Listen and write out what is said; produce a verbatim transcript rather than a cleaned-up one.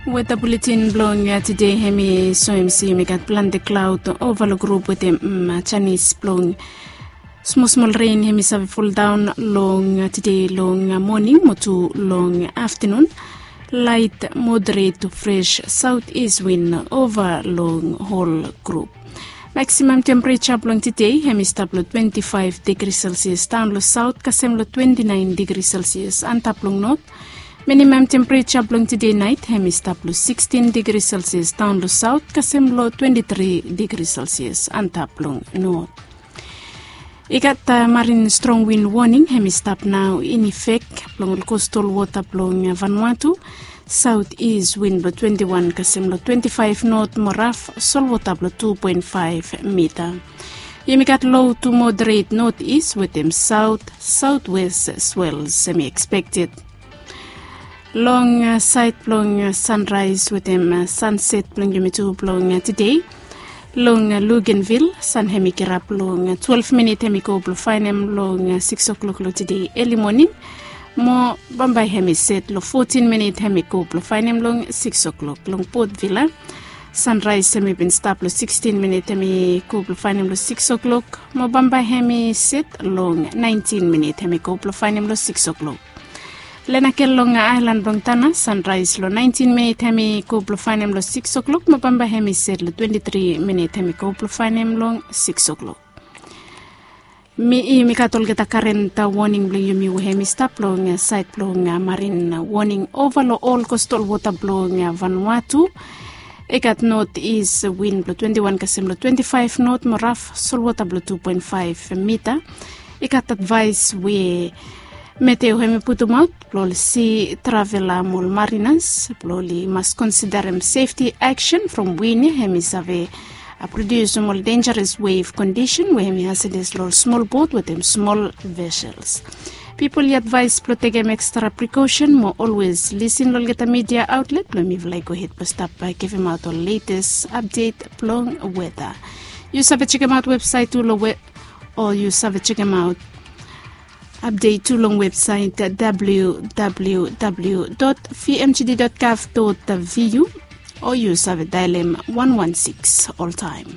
Weta buletin blong tede hem i soem se yumi gat plante klaod ova long grup wetem janis blong smosmol ren hem i save foldaon long tede long moning mo tu long aftenun. Lait moderet tu fres saot is win ova long hol grup. Maksimam tempereja blong tede hem i stap long twenti faef digri selsias daon long saot kasem long twenti naen digri selsias antap long not. Minimam tempereja blong tede naet hem i stap long sikstin digri selsias daon long saot kasem long twenti tri digri selsias antap long not. I gat marin strong win woning hem i stap nao in efek blong ol kostal wota blong Vanuatu. Saot is win blong twenti wan kasem long twenti faef not mo raf solwota blong tu poen faef mita. Yumi gat lo tu moderet not is wetem saot saotwes swels hem i ekspekted. Long saed blong sanraes wetem sanset blong yumi tu blong tede. Long Lugenvil san hem i kirap long twelef minit hem i go blong faenem long siks o'klok long tede eli moning. Mo bambae hem i set long fotin minit hem i go blong faenem long siks o'klok long Port Vila. Sanraes hem i bin stap long sikstin minit hem i go blong faenem long siks o'klok mo bambae hem i set long naentin minit hem i go blong faenem long siks o'klok. Lenakel long aelan blong Tana sanraes long naentin minit hem i go blong faenem long siks o'klok mo bambae hem i set long twenti tri minit hem i go blong faenem long siks o'klok. Mi i mi gat olgeta karen woning blong yumi we hem i stap long saed blong marin woning ova long ol kostal wota blong Vanuatu. I gat not is win blong twenti wan kasem long twenti faef not mo raf solwota blong tu poen faef mita. I gat advaes we Meteo hem i putumaot blong ol si travela mo ol marinas blong oli mas konsiderem sefti aksen from win ya hem i save produsim ol denjaras wev kondisen we hem i hasedes long ol smol bot wetem smol vesels. Pipol i advaes blong tekem ekstra prikosen mo olwes lisin long olgeta midia aotlet blong mifala i gohed blong stap givim aot ol letes apdet blong weta. Yu save jekemaot websaet tu long we o yu save jekemaot apdet tu long websaet www vmgd gov vu o yu save daelem wan wan siks oltaem.